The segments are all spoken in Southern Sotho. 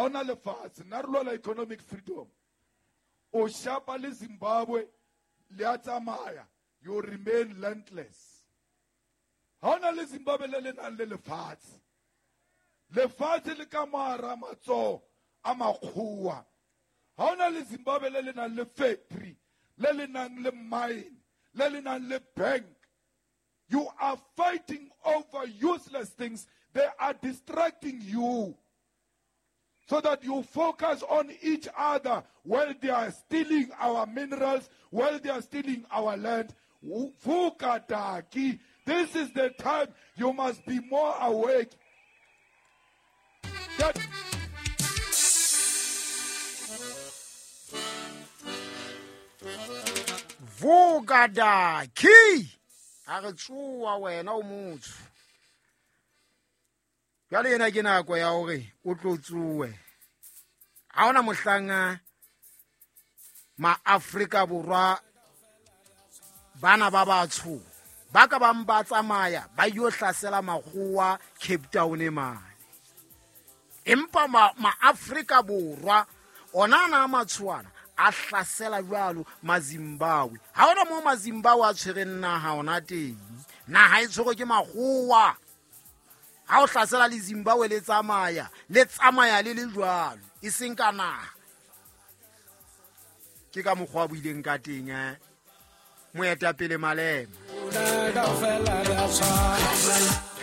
Ha ona lefatshe, nna re lwela economic freedom. O shapa le Zimbabwe le a tsamaya, you remain landless. Ha ona le Zimbabwe le le nang le lefatshe. Lefatshe le ka moara matsoho a makgowa. Ha ona le Zimbabwe le le nang le factory, le le nang le mine, le le nang le bank. You are fighting over useless things. They are distracting you so that you focus on each other while they are stealing our minerals, while they are stealing our land. Fukataki. This is the time you must be more awake. That Vukadaki a re tsoa wena o motsho jwale ena ke nako ya hore o tlo tsoe. Ha hona mohlanga maAfrika Borwa bana ba batsho ba ka bang ba tsamaya ba yo hlasela makgowa Cape Town mane, empa maAfrika Borwa ona ana a matshoana a hlasela jwalo maZimbabwe. Ha hona moo maZimbabwe a tshwereng naha ona teng, naha e tshwerwe ke makgowa. Ha o hlasela le Zimbabwe le tsamaya, le tsamaya le le jwalo, e seng ka naha. Ke ka mokgwa a buileng ka teng, moetapele Malema.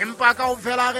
Empa kaofela re